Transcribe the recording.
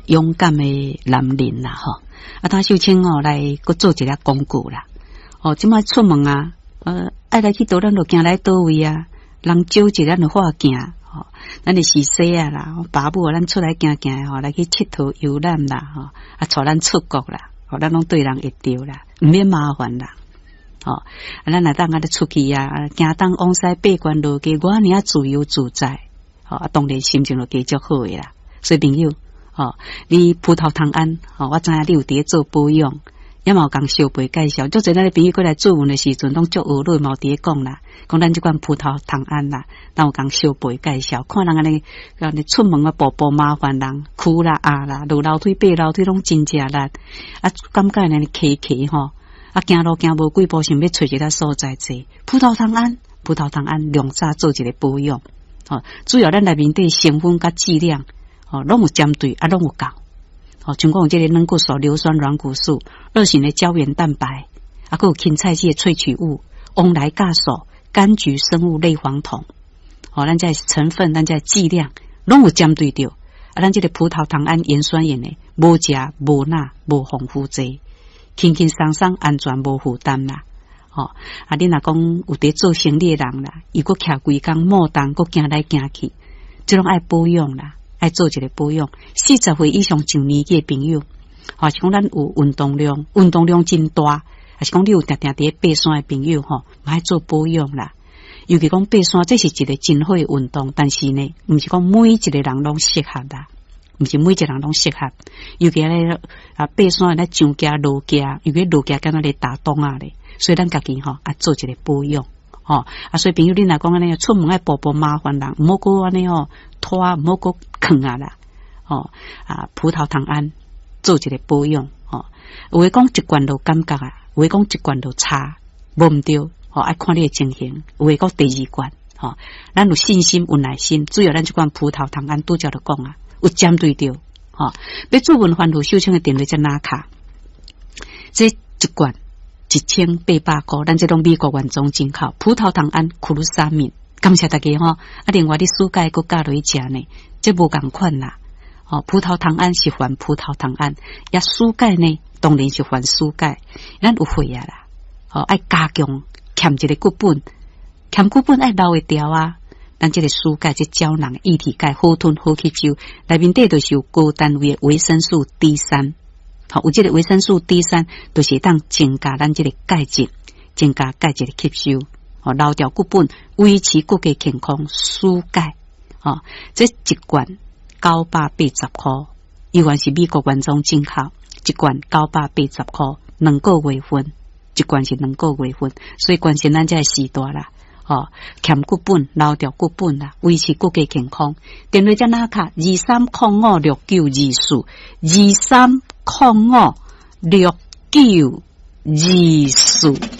勇敢的男人啦吼。啊，湯秀清哦來閣做一个廣告啦。哦，這擺出門啊，愛來去佗，咱就行來佗位啊。人招一咱就化行，吼，咱的是細仔啦，爸母咱出來行行吼，來去𨑨迌遊覽啦，吼，啊，帶咱出國啦，吼，咱攏對人會著啦，毋免麻煩啦，吼，啊，咱若當按呢出去啊，行東往西爬懸落低，我爾自由自在，吼，啊，當然心情就加足好的啦。所以朋友，吼，你葡萄糖胺，吼，我知影你有佇咧做保養。也嘛有共小輩介紹，足濟咱的朋友過來諮問的時陣，攏足學樂嘛有佇咧講啦，講咱這款葡萄糖胺啦，咱有共小輩介紹，看人按呢，按呢出門啊步步麻煩人，跍啦壓啦，落樓梯爬樓梯攏真食力，啊，感覺按呢騎騎吼，啊，行路行無幾步，想欲揣一个所在坐。葡萄糖胺，葡萄糖胺量早做一个保養，吼，主要咱內面底成分佮劑量，吼，攏有針對，啊，攏有夠。哦，像講有這个軟骨素、硫酸軟骨素、二型的膠原蛋白，啊，閣有芹菜葉萃取物、王來鉀素、柑橘生物類黃酮，哦，咱這成分、咱這劑量攏有針對著。啊，咱這个葡萄糖胺鹽酸鹽的，無食無鈉無防腐劑，輕輕鬆鬆安全無負擔啦。吼，啊，你若講有佇做生理的人啦，伊閣徛規工莫動，閣行來行去，這攏愛保養啦。愛做一个保養，40歲以上上年紀的朋友，或是講咱有運動量，運動量真大，還是講你有定定佇咧爬山的朋友吼，嘛愛做保養啦。尤其講爬山，這是一个真好的運動，但是呢，毋是講每一個人攏適合啦，毋是每一個人攏適合。尤其咧啊，爬山咧上行落行，尤其落行敢若咧打樁仔咧，所以咱家己吼啊做一个保養。吼啊，所以朋友，你若講按呢出門愛步步麻煩人，毋好閣按呢吼拖，毋好閣囥啊啦。吼啊，葡萄糖胺做一个保養，吼，有的講一罐就感覺啊，有的講一罐就差，無毋對，吼，愛看你的情形。有的講第二罐，吼，咱有信心有耐心，主要咱這款葡萄糖胺拄才就講啊，有針對著，吼，欲諮問番婦秀清的電話才拿卡，這一罐1800箍，咱這攏美國原裝進口葡萄糖胺苦魯沙敏，感謝大家吼。啊，另外你暑假閣加落去食呢，這無仝款啦。吼，葡萄糖胺是含葡萄糖胺，也暑鈣呢，當然是含暑鈣。咱有血壓啦，吼，愛加強欠一个骨本，欠骨本愛留會牢啊。咱這个暑鈣這膠囊液體鈣好吞好吸收，內面底就是有高單位的維生素 D 三。好，有這个維生素 D 三，就是當增加咱這个鈣質，增加鈣質的吸收，吼，留牢骨本，維持骨骼健康，舒鈣。吼，這一罐980箍，猶原是美國原裝進口，一罐九百八十箍，兩個月份，一罐是兩個月份，所以關心咱這个時代啦。吼，欠骨本，留牢骨本啦，維持骨骼健康。電話才拿卡23056924，23056924。